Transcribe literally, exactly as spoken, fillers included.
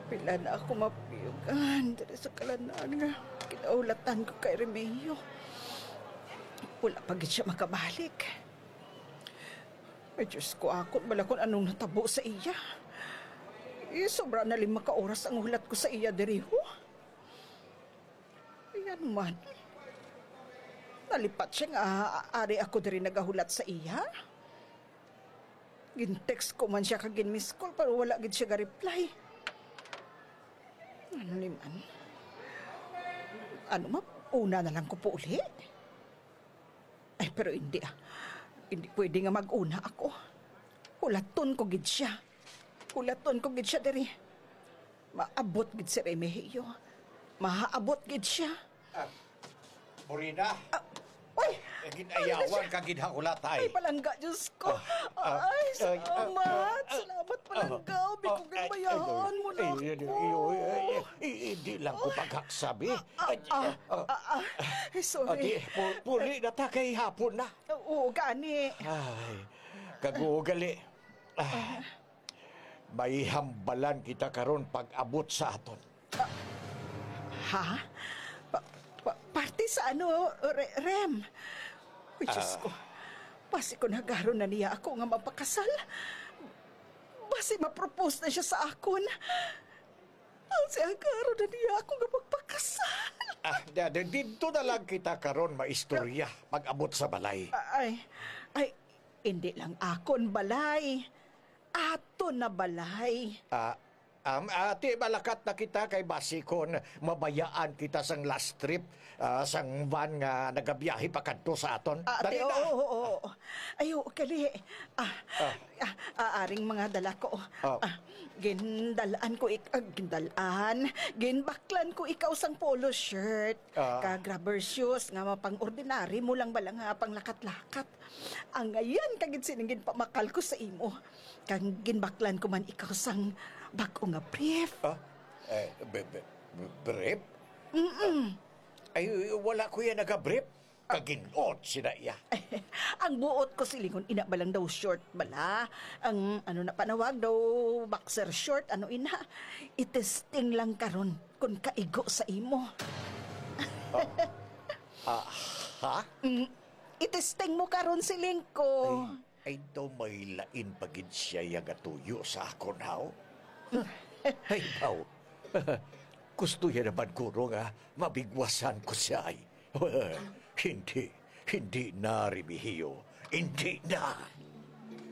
Pila na ako mapiyugan diri sa kalanan nga kinahulatan ko kay Remeo. Wala pa gid siya makabalik. Ay, Diyos ko, akon bala kung anong natabo sa iya. Eh, sobra na lima ka oras ang hulat ko sa iya diri, ho. Ayan man. Nalipat siya nga ari ako diri nagahulat sa iya. Gin-text ko man siya kag gin-miss call, pero wala gid siya ga-reply. Ano ni man? Ano ma, una na lang ko po uli? Ay, pero hindi, ah. Hindi pwede nga mag-una ako. Hulaton ko gid siya. Hulaton ko gid siya diri. Maabot gid si Remigio. Mahaabot gid siya. Ah, Morina. Ah, uy! Eh, ginayawan ka gid ha ulatay. Ay, palangga, Diyos ko. Ah, ah, Ay, ay, ah, salamat. ah, Salamat, ah, palangga. Abi ko ah, ay, ginbayahan ay, mo na ay, ay, ako. ay, ay, ay, ay, hindi lang ko pagkaksabi. Ah, Ay, ah, ah, ah, ah, ah. Ay, sorry. Adi, pu-, puli na ta kay hapon na. Oo, gani. Ay, kagugali. Ah, may hambalan kita karon pag-abot sa aton. Ha? Pa, pa, parte sa ano, Re-, Rem? Uy, Diyos Ah. ko. Basi kung hagaron na niya ako nga mapakasal. Basi ma-propose na siya sa akon. Basi hagaron na niya ako nga magpakasal. Ah, da, da, dito na lang kita karon maistorya pag-abot sa balay. Ay, ay, hindi lang akon balay. Aton na balay. Ah, um, ati, malakat na kita kay basi kon mabayaan kita sang last trip, ah, sang van nga nagabiyahe pakadto sa aton. Ah, ati, Dali na. Oo, oo. Ay, oo, kali. Ah, Ah. ah, ah, aring mga dala ko. Ah. Ah, gindalaan ko ik-, ah, gindalaan. Ginbaklan ko ikaw sang polo shirt. Ah. Kag rubber shoes nga mapang-ordinary mo lang bala nga panglakat-lakat. Ang ayan kagid sining ginpamakal ko sa imo. Kag ginbaklan ko man ikaw sang bag-o nga brief. Ah? Eh, be-, be-, be-, brief? Mm-mm. Ay, wala ko yan naga-brief. Kagin-ot sila iya. Ang buot ko silingon, ina ba lang daw short bala? Ang ano na panawag daw, boxer short, ano ina? Itesting lang karon kung kaigo sa imo. Ah, ah, ha? Mm, itesting mo karon, siling ko. Ay, ay daw may lain pa gid siya yang atuyo sa akon, haw? Ay, baw. Gusto niya naman, guro, nga mabigwasan ko siya, ay. Hindi, hindi na, Remigio. Hindi na.